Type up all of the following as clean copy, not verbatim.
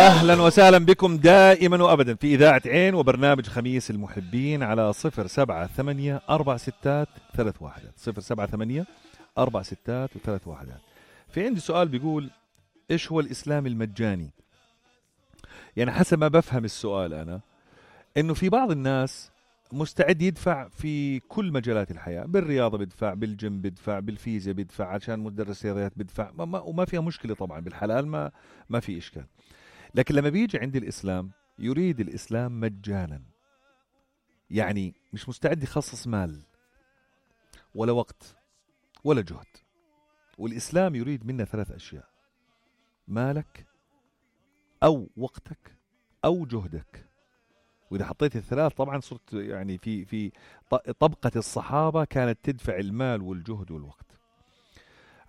أهلا وسهلا بكم دائما وأبدا في إذاعة عين وبرنامج خميس المحبين على 078-463-31 078-463-31. في عندي سؤال بيقول إيش هو الإسلام المجاني؟ يعني حسب ما بفهم السؤال أنا إنه في بعض الناس مستعد يدفع في كل مجالات الحياة، بالرياضة بدفع، بالجيم بدفع، بالفيزياء بدفع، عشان مدرس رياضيات بدفع، وما فيها مشكلة طبعا، بالحلال ما في إشكال. لكن لما بيجي عند الإسلام يريد الإسلام مجانا، يعني مش مستعد يخصص مال ولا وقت ولا جهد. والإسلام يريد منا 3 أشياء: مالك أو وقتك أو جهدك. وإذا حطيت الثلاث طبعا صرت يعني في طبقة الصحابة كانت تدفع المال والجهد والوقت.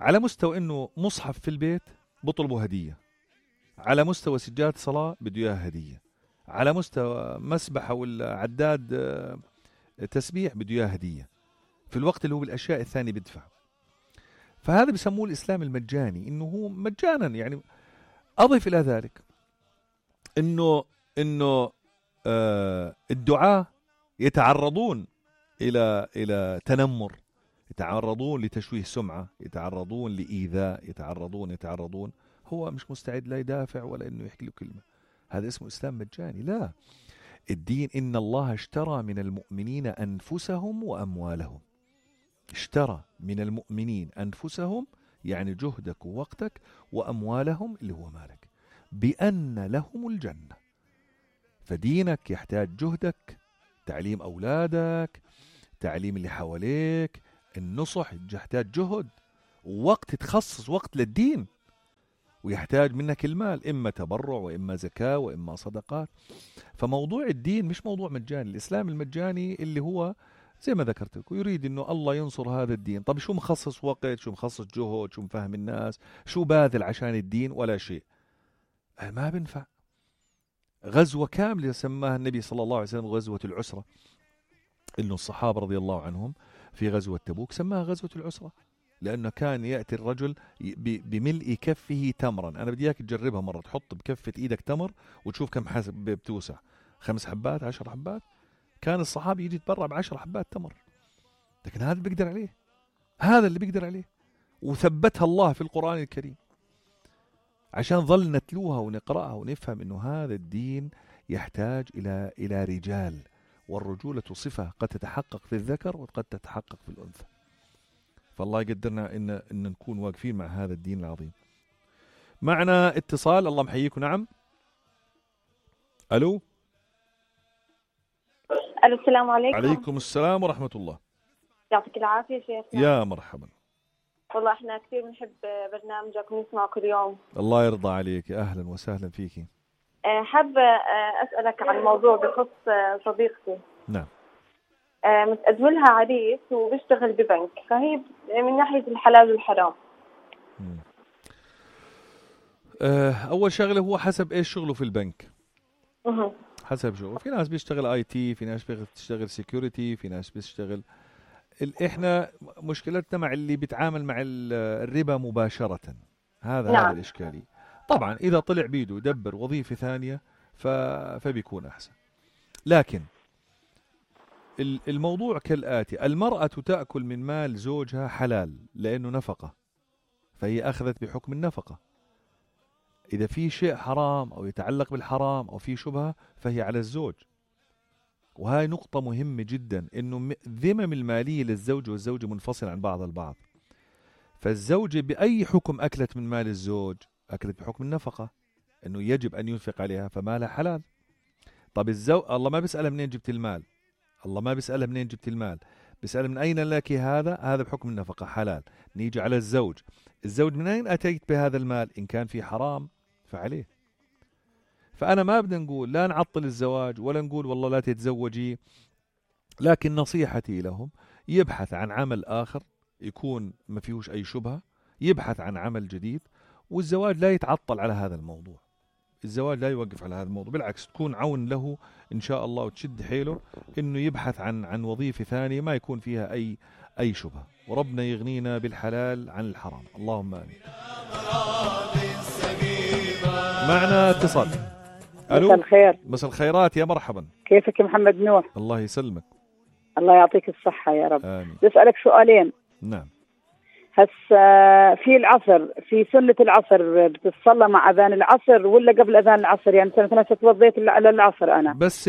على مستوى إنه مصحف في البيت بطلبوا هدية، على مستوى سجادة صلاة بده إياها هدية، على مستوى مسبحة ولا عداد تسبيح بده إياها هدية، في الوقت اللي هو بالأشياء الثانية بدفع. فهذا بسموه الإسلام المجاني، إنه هو مجانا. يعني أضف إلى ذلك إنه الدعاة يتعرضون إلى تنمر، يتعرضون لتشويه سمعة، يتعرضون لإيذاء، يتعرضون. هو مش مستعد لا يدافع ولا إنه يحكي له كلمة. هذا اسمه إسلام مجاني؟ لا. الدين إن الله اشترى من المؤمنين أنفسهم وأموالهم. اشترى من المؤمنين أنفسهم يعني جهدك ووقتك، وأموالهم اللي هو مالك، بأن لهم الجنة. فدينك يحتاج جهدك، تعليم أولادك، تعليم اللي حواليك، النصح يحتاج جهد ووقت، تخصص وقت للدين، ويحتاج منك المال، إما تبرع وإما زكاة وإما صدقات. فموضوع الدين مش موضوع مجاني. الإسلام المجاني اللي هو زي ما ذكرت لكم يريد إنه الله ينصر هذا الدين. طب شو مخصص وقت، شو مخصص جهد، شو مفهم الناس، شو باذل عشان الدين؟ ولا شيء. ما بنفع. غزوة كاملة سماها النبي صلى الله عليه وسلم غزوة العسرة، إنه الصحابة رضي الله عنهم في غزوة تبوك سماها غزوة العسرة، لأنه كان يأتي الرجل بملء كفه تمرا. أنا بدي إياك تجربها مرة، تحط بكفة إيدك تمر وتشوف كم حسب بتوسع، 5 حبات 10 حبات. كان الصحابي يجي يتبرع ب10 حبات تمر. لكن هذا اللي بيقدر عليه، هذا اللي بيقدر عليه. وثبتها الله في القرآن الكريم عشان ظل نتلوها ونقرأها ونفهم إنه هذا الدين يحتاج إلى رجال، والرجولة صفة قد تتحقق في الذكر وقد تتحقق في الأنثى. فالله يقدرنا إن نكون واقفين مع هذا الدين العظيم. معنا اتصال، الله محييكم. نعم. ألو. السلام عليكم. عليكم السلام ورحمة الله. يعطيك العافية شيخنا. يا مرحبا. والله احنا كثير بنحب برنامجك ونسمعه كل يوم. الله يرضى عليك، أهلا وسهلا فيكي. حابة أسألك عن موضوع بخص صديقتي. نعم. متقدم لها عريس وبيشتغل ببنك، فهي من ناحية الحلال والحرام. أول شغلة هو حسب إيش شغله في البنك. حسب شغله. في ناس بيشتغل IT، في ناس بيشتغل سيكوريتي، في ناس بيشتغل إحنا مشكلتنا مع اللي بيتعامل مع الربا مباشرة. هذا نعم. هذا الإشكالي. طبعا إذا طلع بيده يدبر وظيفة ثانية فبيكون أحسن. لكن الموضوع كالآتي: المرأة تأكل من مال زوجها حلال لأنه نفقة، فهي أخذت بحكم النفقة. إذا في شيء حرام أو يتعلق بالحرام أو في شبهة فهي على الزوج. وهاي نقطة مهمة جدا، إنه ذمم المالية للزوج والزوجة منفصل عن بعض البعض. فالزوجة بأي حكم أكلت من مال الزوج؟ أكلت بحكم النفقة، إنه يجب أن ينفق عليها، فمالها حلال. طب الله ما بيسألها منين جبت المال، الله ما بيسألها منين جبت المال، بيسألها من أين لك هذا بحكم النفقة حلال. نيجي على الزوج من أين أتيت بهذا المال؟ إن كان في حرام فعليه. فأنا ما بدنا نقول لا نعطل الزواج ولا نقول والله لا تتزوجي، لكن نصيحتي لهم يبحث عن عمل آخر يكون ما فيهوش أي شبهة، يبحث عن عمل جديد. والزواج لا يتعطل على هذا الموضوع، الزواج لا يوقف على هذا الموضوع، بالعكس تكون عون له إن شاء الله، وتشد حيله إنه يبحث عن وظيفة ثانية ما يكون فيها أي شبهة، وربنا يغنينا بالحلال عن الحرام. اللهم آمين. معنا اتصال. مساء الو، الخير، مساء الخيرات، يا مرحبا. كيفك يا محمد نوح؟ الله يسلمك. الله يعطيك الصحة يا رب. آمين. بدي أسألك سؤالين. نعم. في العصر، في سنة العصر بتتصلى مع أذان العصر ولا قبل أذان العصر؟ يعني مثلا توضيت على العصر أنا بس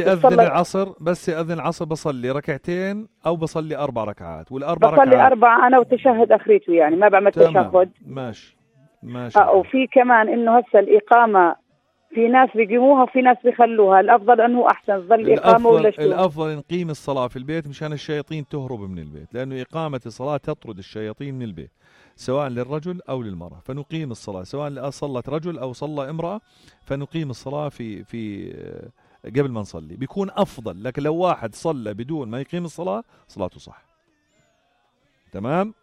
يأذن العصر بصلي ركعتين أو بصلي 4 ركعات، والأربع بصلي ركعات 4 أنا وتشهد أخريته، يعني ما بعمل تشهد. ماشي. وفي كمان إنه هسه الإقامة في ناس بيقيموها وفي ناس بيخلوها، الأفضل أنه أحسن تظل الإقامة ولا شو؟ الأفضل نقيم الصلاة في البيت مشان الشياطين تهرب من البيت، لأنه إقامة الصلاة تطرد الشياطين من البيت سواء للرجل أو للمرأة، فنقيم الصلاة سواء صلت رجل أو صلى امرأة، فنقيم الصلاة في قبل ما نصلي بيكون أفضل. لكن لو واحد صلى بدون ما يقيم الصلاة صلاته صح. تمام.